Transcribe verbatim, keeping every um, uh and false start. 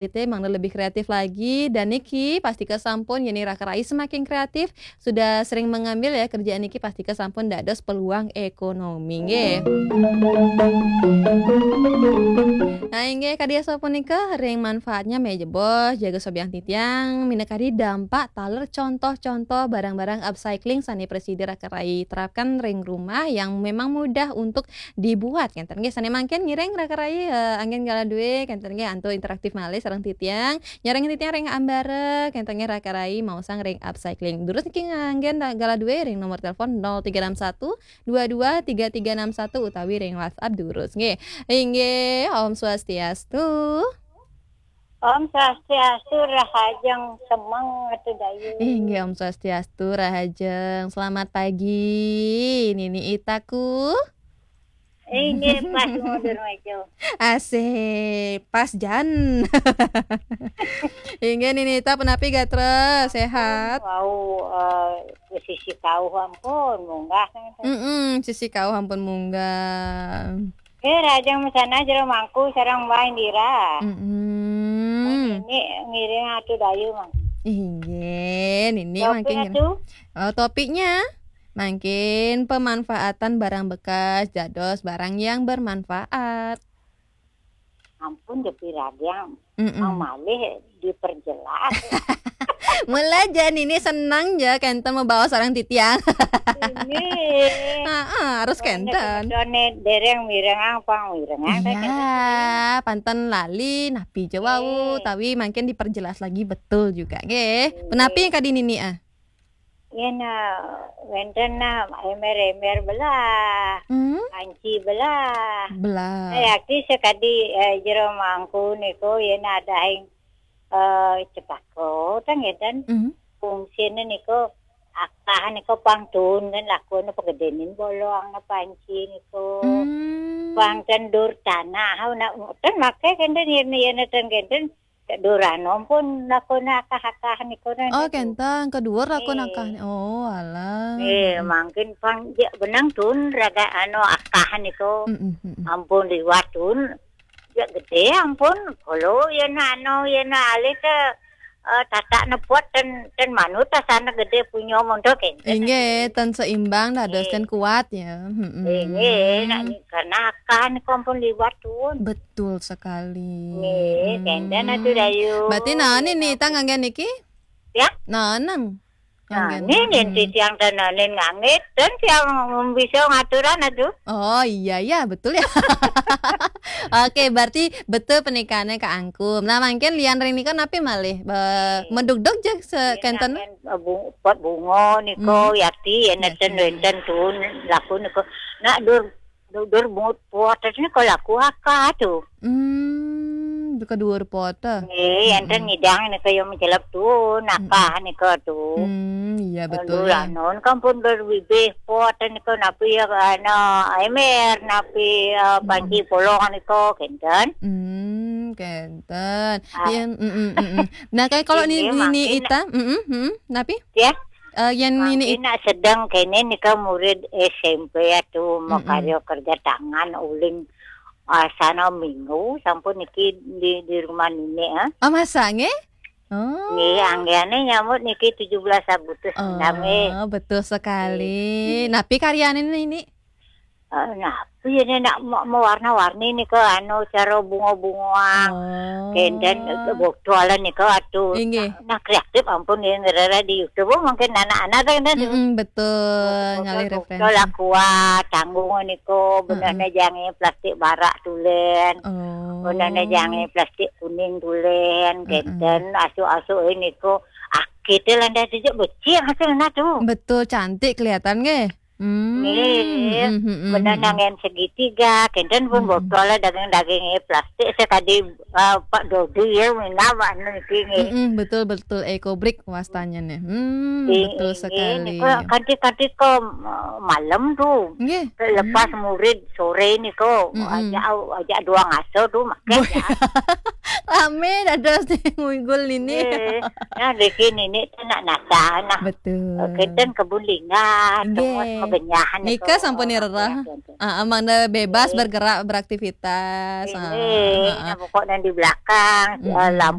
Ite mangda lebih kreatif lagi, dan niki pastika sampun, yen raka rai semakin kreatif, sudah sering mengambil ya kerjaan niki, pastika sampun dados peluang ekonomi nggih. Nah, inggih kadi asapunika ring manfaatnya mejebos jaga sobiahang titiang, minakadi dampak taler contoh-contoh barang-barang upcycling sane prasida raka rai terapkan ring rumah yang memang mudah untuk dibuat, kenten nggih. Sane mangkin ngiring raka rai, eh, anggen galah duwe, kenten nggih, antuk interaktif malih sareng titiang. Nyarengin titiang ring ambara, kenten nggih, raka rai maosang ring upcycling. Durus niki nganggen da-, galah duwe ring nomor telepon nol tiga enam satu dua dua tiga tiga enam satu utawi ring WhatsApp durus nggih. Inggih, Om Swastiastu. Om Swastiastu, rahajeng semeng Ratu Dayu. Inggih, Om Swastiastu, rahajeng. Selamat pagi, Nini Itaku. Inggih, pas mundur maju. Asik, pas jan. Inggih, Nini Ita, punapi gatra, sehat? Wau, eh, sisi kauh ampun munggah. Mm-mm, sisi kauh ampun munggah. Eh, rahajeng mesana jero mangku sareng Mbah Indira. Mm-mm. Nini ngiring Ratu Dayu, Mang. Inggih, Nini mangkin ngiring. Ratu? Oh, topiknya mangkin pemanfaatan barang bekas dados barang yang bermanfaat. Ampun, Depi Radiang, mm-mm, malih diperjelas. Mula ja Nini seneng ja kenten mabaos sareng titiang. Ini. Heeh, harus kenten. Dereng mirengang pang mirengang. Iya, panten lali napi ja wau, eh, tapi mangkin diperjelas lagi betul juga nggih. Iya. Punapi yang kadi Nini ah? Yen, eh, wenten nah emer-emer belah, hmm? Panci belah. Belah. Nah, yakti sakadi, eh, jero mangku niku yen adahing, eh, cepaka, tah ngeten. Mhm. Fungsine niku akah niku pang tuun kan lakune pagedenin bolong panci niku. Hmm. Pang ten dur tanah, nah, ten make kenten yen, yen ten kenten Dur anu pun lakune akah-akah niku. Oh, kenten, ka duur lakune akah. Oh, alah. Eh, mangkin pang ja benang tuun raga anu akah niku. Mm-mm, mm-mm. Ampun liwat tuun. Ja gede ampun. Kalau yen anu, yen alih ke, eh, tatak nepot ten, ten manut asana gede punya monto kenten. Inggih, ten seimbang dados ten kuat ya. Mm-mm. Inggih, nak ni karena akah niku ampun liwat tuun. Betul sekali. Nggih, hmm, kenten Ratu Dayu. Berarti nah, Nini Ita nganggen niki? Ya? Nah, nang. Nah, nganggen. Nini, hmm, titiang tenanin ngangit, dan tiang bisa ngaturan aduh. Oh, iya, iya, betul ya. Oke, berarti betul pernikahannya Kak Angkum. Nah, mangkin lian ring nika napi malih? Be-, iya. Medugdug ja se-, iya, kenten? Nganggen, eh, bu-, pot bunga niku, hmm, yakti, ya, neten, yakti. Wenten tuun laku niku. Nak dur Dur, dur bungut pot niku laku akah tu. Hmm, ka duur pot. Nggih, enten, mm-mm, ngidang niku ya mencelep tu, nakah niku tu. Hmm, iya betul ya. Anu, kampun berbibih pot niku napi ya, anu, emer, napi, eh, panci polong niku, kenten. Hmm, kenten. Ah. Iya, mm-mm, mm-mm. Nah, kayak kalau ini, Nini Ita, mm-mm, mm-mm, napi? Ya. Eh, yen Nini nak sedeng kene nika murid S M P ya tu, mm-mm, makarya kerja tangan uling, ah, sana minggu sampun niki di, di rumah Nini, ah. Oh, masa nggih? Oh. Nggih, anggane nyambut niki tujuh belas Agustus nami. Oh, betul sekali. Nggih. Napi karyane Nini? Eh, napi ya, nak ma-, mewarna-warni nika, anu, cara bunga-bunga. Oh. Kenten, eh, botol nika atu. Inggih. Nah, kreatif ampun ya, ngerera di YouTube. Oh, mungkin anak-anak kan, kan. Mm-mm, betul. Botol, ngalih botol referensi. Aqua, tanggung nika, benehne jange plastik barak tulen. Oh. Benehne jange plastik kuning tulen, mm-mm, kenten, asuk-asuk nika. Akite landas becik hasilnya tu. Betul, cantik kelihatan nggih. Hmm, nggih, mm, mm, mm, benang mm, yang segitiga, kenten pun, mm, botol lah daging-daging, eh, plastik sekadi, eh, Pak Dodi ya, minta Pak niki nggih. Mm, mm, betul, betul, eco brick wastanya nih. Hmm, nggih, betul nggih, sekali. Nggih, kanti-kanti ke, eh, malam tu. Nggih. Lepas, hmm, murid sore niku, mm, mm, ajak, ajak dua ngaso tu, makan. Boy. Ya. Rame dados nih, ngulung Nini. Nggih. Nah, niki Nini tu nak nata, nah. Betul. Eh, kenten kebun lingga, nggih, tempat Benyahan Nika sampun nirerah. Ah, mangda bebas bergerak, beraktivitas. Ah, ini ah, pokoknya di belakang, eh, lampu